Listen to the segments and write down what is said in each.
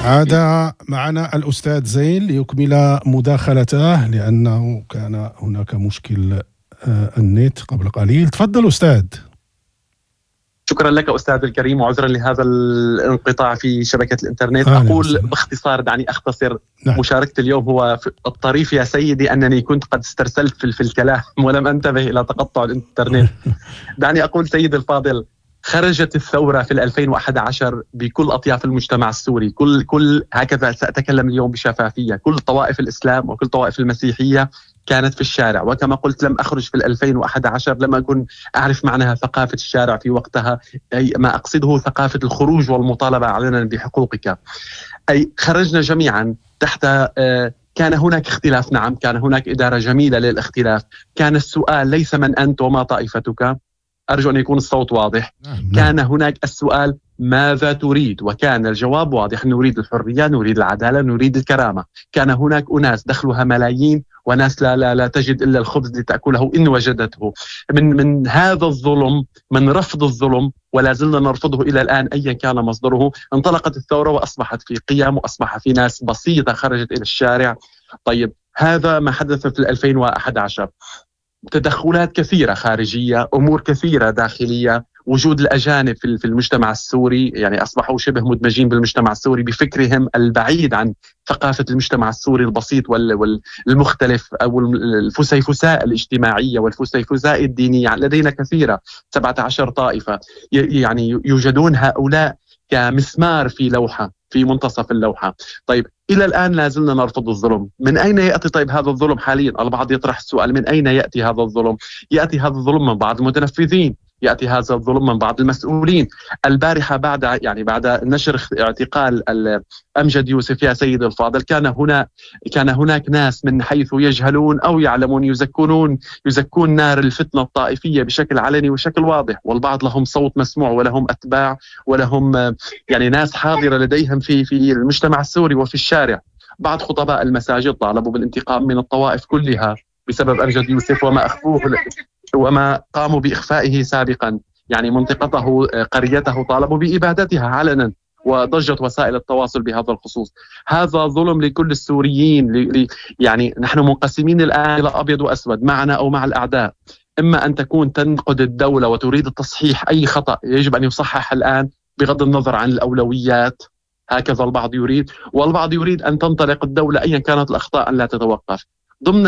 عاد معنا الأستاذ زين ليكمل مداخلته، لأنه كان هناك مشكل النت قبل قليل. تفضل أستاذ. شكرا لك أستاذ الكريم، وعذرا لهذا الانقطاع في شبكة الإنترنت. أقول باختصار، دعني أختصر. نعم. مشاركة اليوم هو الطريف يا سيدي أنني كنت قد استرسلت في الكلام ولم أنتبه إلى تقطع الإنترنت. دعني أقول سيدي الفاضل، خرجت الثورة في 2011 بكل أطياف المجتمع السوري، كل هكذا سأتكلم اليوم بشفافية، كل طوائف الإسلام وكل طوائف المسيحية كانت في الشارع. وكما قلت لم أخرج في 2011، لم أكن أعرف معناها ثقافة الشارع في وقتها، أي ما أقصده ثقافة الخروج والمطالبة علنا بحقوقك. أي خرجنا جميعا تحت كان هناك اختلاف، نعم كان هناك إدارة جميلة للاختلاف. كان السؤال ليس من أنت وما طائفتك، أرجو أن يكون الصوت واضح. نعم. كان هناك السؤال ماذا تريد، وكان الجواب واضح، نريد الحرية، نريد العدالة، نريد الكرامة. كان هناك أناس دخلها ملايين وناس لا لا لا تجد إلا الخبز لتأكله إن وجدته. من هذا الظلم، من رفض الظلم، ولا زلنا نرفضه إلى الآن أيا كان مصدره، انطلقت الثورة وأصبحت في قيم، وأصبح في ناس بسيطة خرجت إلى الشارع. طيب هذا ما حدث في 2011. تدخلات كثيرة خارجية، أمور كثيرة داخلية، وجود الأجانب في المجتمع السوري، يعني أصبحوا شبه مدمجين بالمجتمع السوري بفكرهم البعيد عن ثقافة المجتمع السوري البسيط والمختلف، أو الفسيفساء الاجتماعية والفسيفساء الدينية لدينا كثيرة، 17 طائفة، يعني يوجدون هؤلاء كمسمار في لوحة، في منتصف اللوحة. طيب إلى الآن لا زلنا نرفض الظلم. من أين يأتي طيب هذا الظلم حاليا؟ البعض يطرح السؤال، من أين يأتي هذا الظلم؟ يأتي هذا الظلم من بعض المتنفذين، يأتي هذا الظلم من بعض المسؤولين. البارحة بعد نشر اعتقال أمجد يوسف يا سيد الفاضل، كان هناك ناس من حيث يجهلون أو يعلمون يزكون نار الفتنة الطائفية بشكل علني وشكل واضح، والبعض لهم صوت مسموع ولهم أتباع ولهم يعني ناس حاضرة لديهم في المجتمع السوري وفي الشارع. بعض خطباء المساجد طالبوا بالانتقام من الطوائف كلها بسبب أمجد يوسف وما أخفوه وما قاموا بإخفائه سابقا، يعني منطقته قريته طالبوا بإبادتها علنا، وضجت وسائل التواصل بهذا الخصوص. هذا ظلم لكل السوريين، يعني نحن منقسمين الآن إلى أبيض وأسود، معنا أو مع الأعداء. إما أن تكون تنقد الدولة وتريد التصحيح، أي خطأ يجب أن يصحح الآن بغض النظر عن الأولويات، هكذا البعض يريد، والبعض يريد أن تنطلق الدولة أيا كانت الأخطاء أن لا تتوقف. ضمن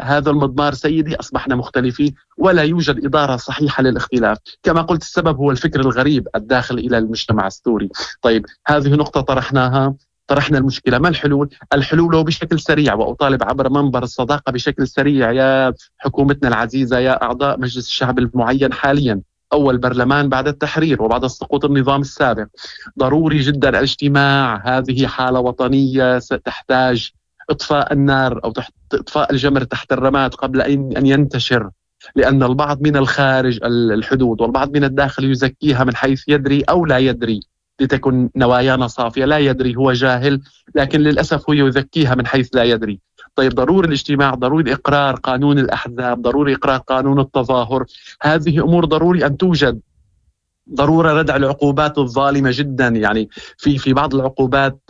هذا المضمار سيدي أصبحنا مختلفين، ولا يوجد إدارة صحيحة للاختلاف. كما قلت السبب هو الفكر الغريب الداخل إلى المجتمع السوري. طيب هذه نقطة طرحناها، طرحنا المشكلة. ما الحلول؟ الحلول بشكل سريع، وأطالب عبر منبر الصداقة بشكل سريع يا حكومتنا العزيزة، يا أعضاء مجلس الشعب المعين حاليا، أول برلمان بعد التحرير وبعد سقوط النظام السابق، ضروري جدا الاجتماع. هذه حالة وطنية تحتاج إطفاء النار أو تحت إطفاء الجمر تحت الرماد قبل أن ينتشر، لأن البعض من الخارج الحدود والبعض من الداخل يزكيها من حيث يدري أو لا يدري، لتكن نوايانا صافية، لا يدري هو جاهل، لكن للأسف هو يزكيها من حيث لا يدري. طيب ضروري الاجتماع، ضروري إقرار قانون الأحزاب، ضروري إقرار قانون التظاهر، هذه أمور ضروري أن توجد. ضرورة ردع العقوبات الظالمة جدا، يعني في بعض العقوبات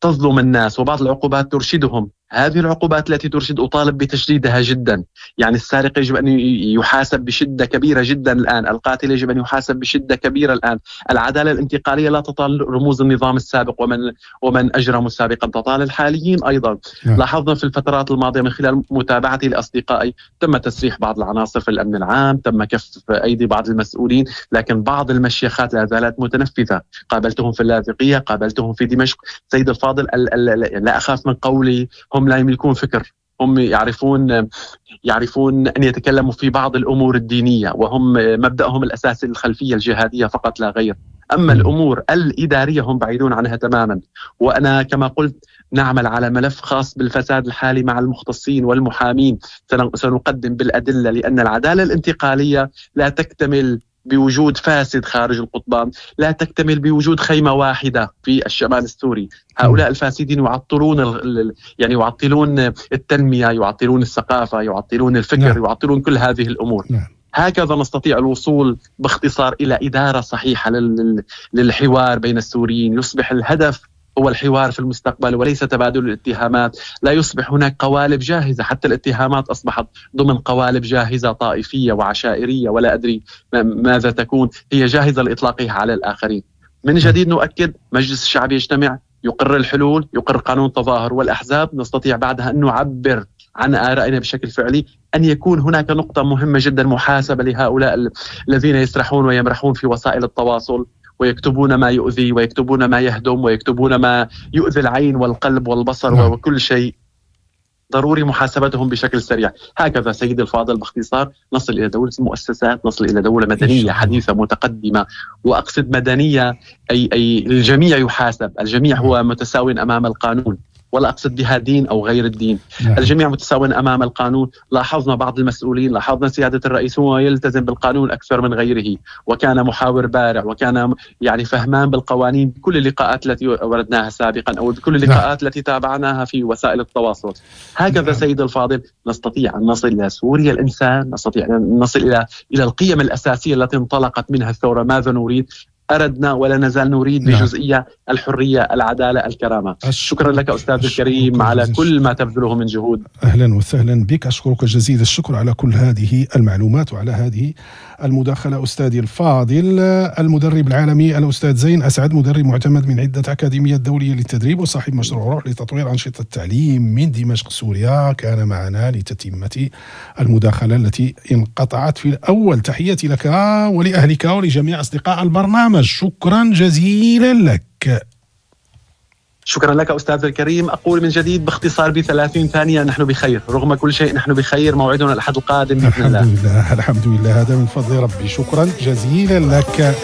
تظلم الناس وبعض العقوبات ترشدهم. هذه العقوبات التي ترشد أطالب بتشديدها جدا، يعني السارق يجب أن يحاسب بشدة كبيرة جدا الآن، القاتل يجب أن يحاسب بشدة كبيرة الآن. العدالة الانتقالية لا تطال رموز النظام السابق ومن أجرموا سابقا، تطال الحاليين أيضا. لاحظنا في الفترات الماضية من خلال متابعتي لأصدقائي تم تسريح بعض العناصر في الأمن العام، تم كف أيدي بعض المسؤولين، لكن بعض المشيخات لا زالت متنفذة. قابلتهم في اللاذقية، قابلتهم في دمشق. سيد الفاضل، لا أخاف من قولي، هم لا يملكون فكر، هم يعرفون أن يتكلموا في بعض الأمور الدينية، وهم مبدأهم الأساسي الخلفية الجهادية فقط لا غير. أما الأمور الإدارية هم بعيدون عنها تماما. وأنا كما قلت نعمل على ملف خاص بالفساد الحالي مع المختصين والمحامين، سنقدم بالأدلة، لأن العدالة الانتقالية لا تكتمل بوجود فاسد خارج القضبان، لا تكتمل بوجود خيمة واحدة في الشمال السوري. هؤلاء الفاسدين يعطلون يعني يعطلون التنمية، يعطلون الثقافة، يعطلون الفكر. نعم. يعطلون كل هذه الأمور. نعم. هكذا نستطيع الوصول باختصار إلى إدارة صحيحة للحوار بين السوريين. يصبح الهدف هو الحوار في المستقبل وليس تبادل الاتهامات. لا يصبح هناك قوالب جاهزة، حتى الاتهامات أصبحت ضمن قوالب جاهزة طائفية وعشائرية ولا أدري ماذا تكون، هي جاهزة لإطلاقها على الآخرين. من جديد نؤكد، مجلس الشعب يجتمع، يقر الحلول، يقر قانون التظاهر والأحزاب، نستطيع بعدها أن نعبر عن آرائنا بشكل فعلي. أن يكون هناك نقطة مهمة جدا، محاسبة لهؤلاء الذين يسرحون ويمرحون في وسائل التواصل ويكتبون ما يؤذي ويكتبون ما يهدم ويكتبون ما يؤذي العين والقلب والبصر وكل شيء. ضروري محاسبتهم بشكل سريع. هكذا سيدي الفاضل باختصار نصل إلى دولة المؤسسات، نصل إلى دولة مدنية حديثة متقدمة. وأقصد مدنية أي الجميع يحاسب، الجميع هو متساو أمام القانون، ولا أقصد بها دين أو غير الدين. الجميع متساو أمام القانون. لاحظنا بعض المسؤولين، لاحظنا سيادة الرئيس هو يلتزم بالقانون أكثر من غيره، وكان محاور بارع، وكان يعني فهمان بالقوانين بكل اللقاءات التي وردناها سابقا أو بكل اللقاءات التي تابعناها في وسائل التواصل. هكذا سيد الفاضل نستطيع أن نصل إلى سوريا الإنسان، نستطيع أن نصل إلى القيم الأساسية التي انطلقت منها الثورة. ماذا نريد؟ أردنا ولا نزال نريد بجزئية الحرية، العدالة، الكرامة. شكرا لك أستاذ الكريم على كل ما تبذله من جهود. أهلا وسهلا بك، أشكرك جزيل الشكر على كل هذه المعلومات وعلى هذه المداخلة أستاذي الفاضل. المدرب العالمي الأستاذ زين أسعد، مدرب معتمد من عدة أكاديميات دولية للتدريب وصاحب مشروع روح لتطوير أنشطة التعليم من دمشق سوريا، كان معنا لتتمة المداخلة التي انقطعت في الأول. تحياتي لك ولأهلك ولجميع أصدقاء البرنامج، شكرا جزيلا لك. شكرا لك أستاذ الكريم. أقول من جديد باختصار ب30 ثانية، نحن بخير رغم كل شيء، نحن بخير. موعدنا الأحد القادم بإذن الله. الحمد لله، الحمد لله، هذا من فضل ربي. شكرا جزيلا لك.